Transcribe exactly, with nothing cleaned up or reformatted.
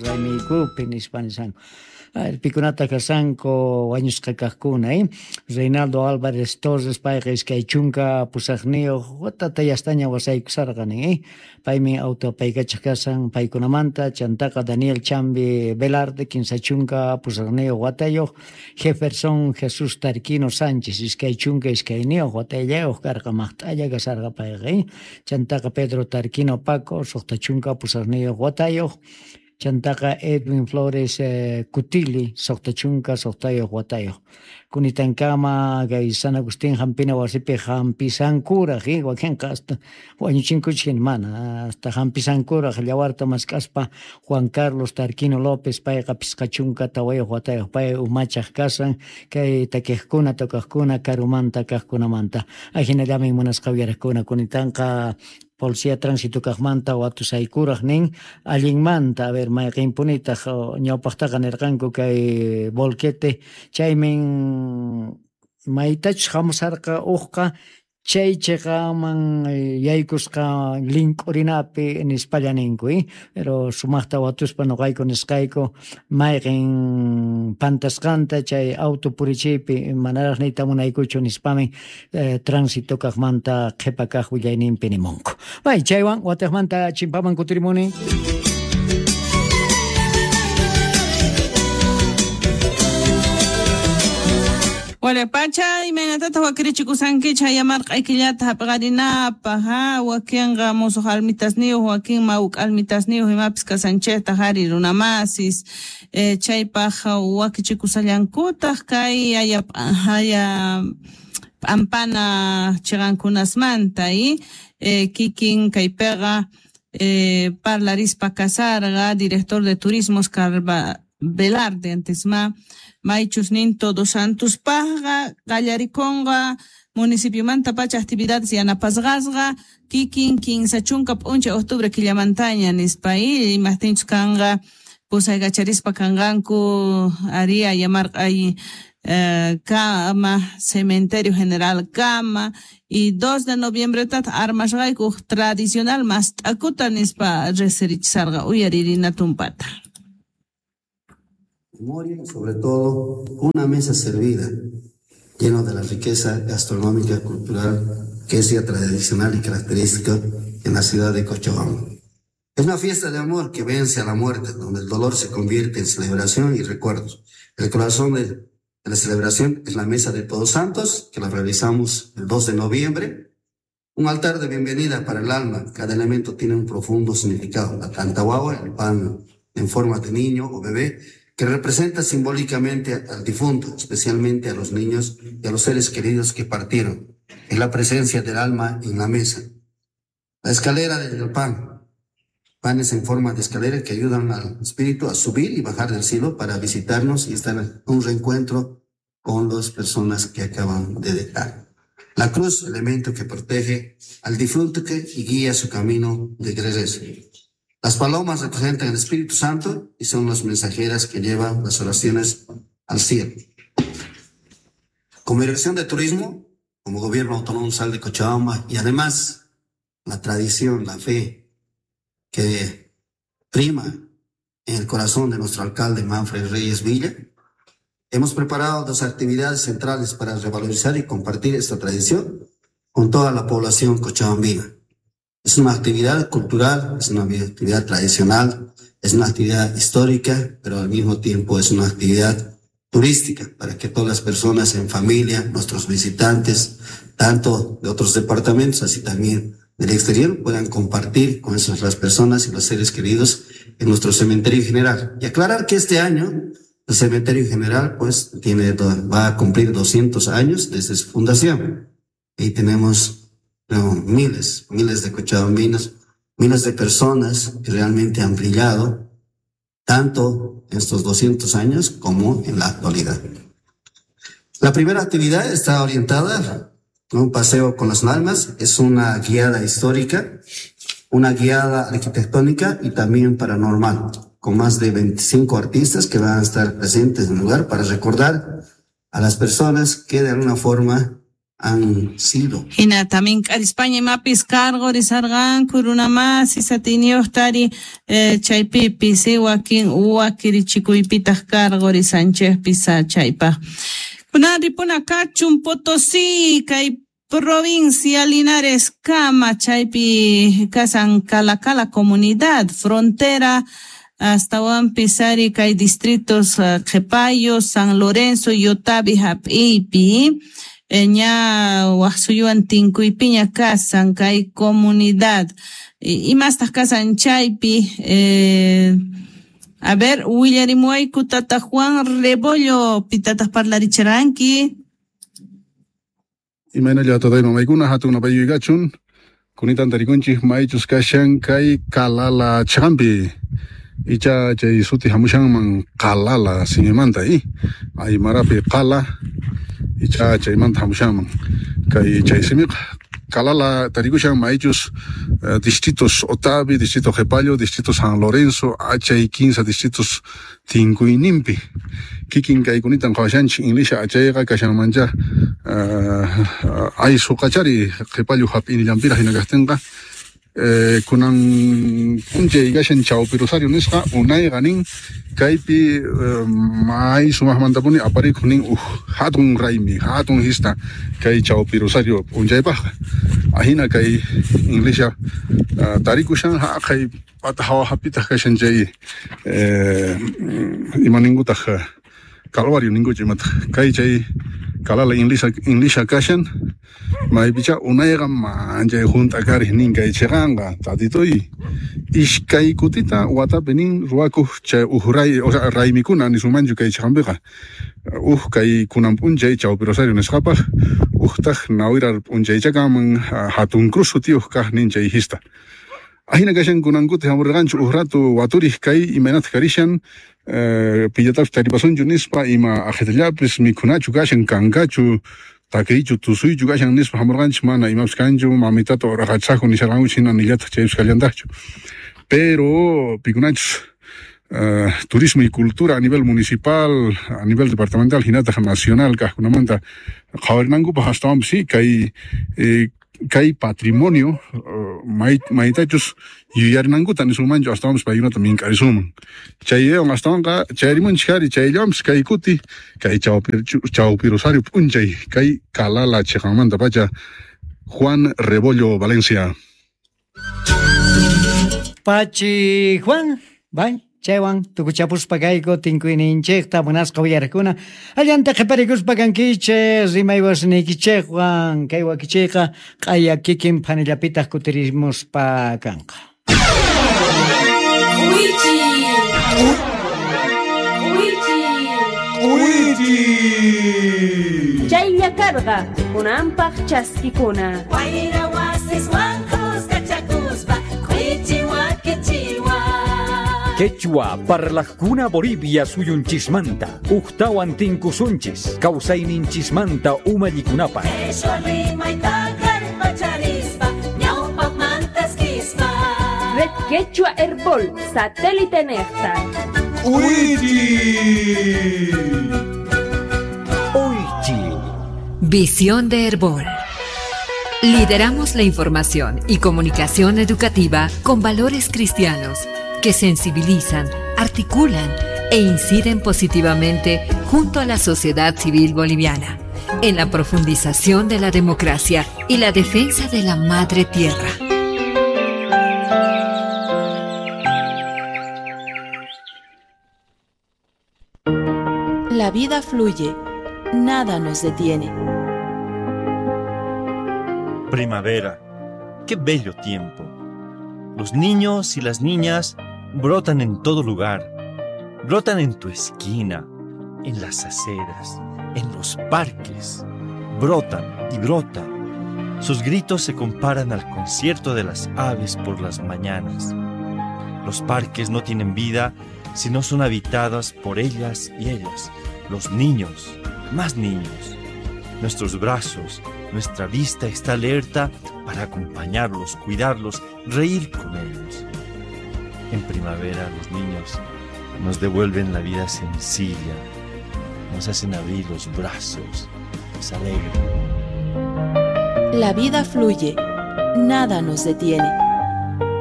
Raymiykupi nispa nishanku. Pikunata kashanku wañusqa kajkuna, eh? Reinaldo Álvarez Torres payqa iskay chunka pusaqniyuq watata yastaña wasaykusarqa nin, eh? Paymi auto apaykachaq kashan paykunamanta. Chantaqa Daniel Chambi Velarde kinsa chunka pusaqniyuq watayuq, Jefferson Jesús Tarquino Sánchez iskay chunka iskayniyuq watayllayuq karqa, maqt'alla kasarqa payqa, eh? Chantaqa Pedro Tarquino Paco suqta chunka pusaqniyuq watayuq, chantaqa Edwin Flores eh, Cutili suqta chunka suqtayuq watayuq. Kunitankama kay San Agustín hampina wasipi hampisankuraq, eh, wakinqa hasta wañuchinkuchik mana, hasta hampisankuraq llawarta mask'aspa Juan Carlos Tarquino López payqa pisqa chunka tawayuq watayuq, pay umachaq kasan kay takiqkuna tocaqkuna karumanta kaqkunamanta. Ajinallamin munasqa uyaraqkuna kunitanqa Policía Tránsito kaqmanta watusaykuraq nin allinmanta, a ver mayqinpunitaq ñawpaqtaqa nirqanku kay volquete chaymin maytachus hamusarqa uqqa chay chiqaman yaykusqa link'urinapi nispalla ninku, eh? Pero sumaqta watuspa nuqayku nisqayku mayqin pantasqanta chay auto purichiypi manaraq niyta munaykuchu nispamin eh, tránsito kaqmanta qhipa kaq willayninpi nimunku. Bay, chaywan watiqmanta chimpaman kutirimuni. Wala pacha imaynatata wakirichikusankichik hayamarq'aykillata hap'iqarinapaq, ha wakinqa musuq almitasniyuq, wakin mawk'a almitasniyuq imapis kasanchikta hari runamasis, eh, chaypaq wakichikusallankutaq kay haya haya p'ampana chiqankunasmanta y eh, kikin kaypiqa eh, parlarispa kasarqa director de turismo Oscar Velarde antes ma maychus nin Todos Santos pajqa qallarikunqa municipiomanta pacha actividades yanapasqasqa kikin kinsa chunka p'unchay octubre killamantaña nispa y imaqtinchus kanqa pusaykacharispa kanqanku ari ayamarq'ay eh, kama cementerio general kama y dos de noviembre tata armasqayku tradicional mast'akuta nispa riqsirichisarqa uyaririna tumpata. Memoria, sobre todo, una mesa servida, lleno de la riqueza gastronómica, cultural, que es ya tradicional y característica en la ciudad de Cochabamba. Es una fiesta de amor que vence a la muerte, donde el dolor se convierte en celebración y recuerdos. El corazón de, de la celebración es la mesa de Todos Santos, que la realizamos el dos de noviembre. Un altar de bienvenida para el alma. Cada elemento tiene un profundo significado. La tantahuahua, el pan en forma de niño o bebé, que representa simbólicamente al difunto, especialmente a los niños y a los seres queridos que partieron. Es la presencia del alma en la mesa. La escalera del pan, panes en forma de escalera que ayudan al espíritu a subir y bajar del cielo para visitarnos y estar en un reencuentro con las personas que acaban de dejar. La cruz, elemento que protege al difunto y guía su camino de regreso. Las palomas representan el Espíritu Santo y son las mensajeras que llevan las oraciones al cielo. Como Dirección de Turismo, como Gobierno Autónomo Sal de Cochabamba y además la tradición, la fe que prima en el corazón de nuestro alcalde Manfred Reyes Villa, hemos preparado dos actividades centrales para revalorizar y compartir esta tradición con toda la población cochabambina. Es una actividad cultural, es una actividad tradicional, es una actividad histórica, pero al mismo tiempo es una actividad turística para que todas las personas en familia, nuestros visitantes, tanto de otros departamentos, así también del exterior, puedan compartir con esas las personas y los seres queridos en nuestro cementerio general. Y aclarar que este año el cementerio general pues tiene, va a cumplir doscientos años desde su fundación. Y tenemos no, miles, miles de cochabambinos, miles de personas que realmente han brillado tanto en estos doscientos años como en la actualidad. La primera actividad está orientada a un paseo con las almas, es una guiada histórica, una guiada arquitectónica y también paranormal, con más de veinticinco artistas que van a estar presentes en el lugar para recordar a las personas que de alguna forma han sido. Hinata mink'arispaña imapis karqurisarqanku runamasi satiniyuqtari eh, chaypipis wakin wakirichikuypitaq karqurisanchikpis chaypaq. Kunan ripuna kachun Potosí kay provincia Linares kama chaypi kasan Calacala comunidad frontera hasta ari kay distritos Qhipayo, San Lorenzo, Yotavi hap'iypi ña wak suyuwan tinkuypiña kasan kay comunidad imastaq kasan chaypi eh, a ver willarimuwayku tata Juan Rebollo pitataq parlaricharanki. Imaynalla tatay mamaykuna hatun napayuykachun kunitan tarikunchik maychus kashan kay Calala chaqanpi icha chay suti hamushanman Qalala simimanta i aymarapi qala icha chaymanta hamushanman kay chay simiqa Calala tarikushan maychus uh, distritos Otavi, distrito Qhipayo, distrito San Lorenzo, achay kinsa distritos tinkuyninpi kikin kaykunita qhawashanchik inlisha achayqa kashanmancha uh, aysuqachari Qhipayo hap'inillanpiraq hina kaqtinqa eh, kunan p'unchay kashan Chawpi Rosario nisqa unayqa nin kaypi eh, may sumaqmantapuni aparikuq nin uj hatun raymi hatun hista kay Chawpi Rosario p'unchaypaqqa ahina kay inlisha uh, tarikushan haqay pata hawa hapitaq kashan chay eh, imaninkutaq Calvario ninkuchu imataq kay chay Calala inlisha inlisha kashan maypicha unayqa manchay hunt'a kariq nin kay chiqanqa tatitoy iskay kutita watapi nin ruwakuq chay uj ray o sea raymikuna nisunmanchu kay chiqanpiqa uj kay kunan p'unchay Chawpi Rosario nisqapaq ujtaq nawirar p'unchaychakaman hatun cruz sutiyuq kaq nin chay hista ahina kashan kunankuti hamurqanchu uj rato waturiq kay imaynataq karishan eh, pillatapis taripasunchu nispa ima ajetallapis mikhunachu kashan kankachu takiychu tusuychu kashan nispa hamurqanchik mana imapis kanchu mamitata uraqachisaqku nisharqankuchik hina nillataq chaypis kallantaqchu pero pikunachus Uh, turismo y cultura a nivel municipal, a nivel departamental, hinataq nacional kaqkunamanta qhawarinankupaq astawanpis sí kay eh, kay patrimonio uh, may, maytachus yuyarinankuta nisunmanchu astawanpis paykunata mink'arisunman chaywan astawanqa chayarimunchik ari chayllawanpis kay kuti kay Chawpi, Chawpi Rosario p'unchay kay Calala chiqanmantapacha Juan Rebollo Valencia. Pachi Juan, bye. Chaywan tukuchapuspa kayku tinkuyninchikta munasqa uyarikuna allanta qhiparikuspa kankichik rimay wasniykichikwan kay wakichiyqa q'aya kikin phanillapitaq kutirimuspa kanqa. K'uychi K'uychi K'uychi Chaylla karqa kunanpaq chaskikuna Wayra wasiswan kuskachakuspa k'uychi wakichiwan. Quechua parlajkuna Bolivia suyunchismanta ujtawan tinkusunchis kawsayninchismanta umallikunapaq. Quechua rimayta kallpacharispa ñawpaqmantaskispa. Red Quechua Herbol satélite nejta. K'uychi Uychi. Visión de Herbol. Lideramos la información y comunicación educativa con valores cristianos que sensibilizan, articulan e inciden positivamente junto a la sociedad civil boliviana en la profundización de la democracia y la defensa de la madre tierra. La vida fluye, nada nos detiene. Primavera, qué bello tiempo. Los niños y las niñas brotan en todo lugar. Brotan en tu esquina, en las aceras, en los parques. Brotan y brotan. Sus gritos se comparan al concierto de las aves por las mañanas. Los parques no tienen vida si no son habitadas por ellas y ellos, los niños, más niños. Nuestros brazos, nuestra vista está alerta para acompañarlos, cuidarlos, reír con ellos. En primavera los niños nos devuelven la vida sencilla, nos hacen abrir los brazos, nos alegran. La vida fluye, nada nos detiene.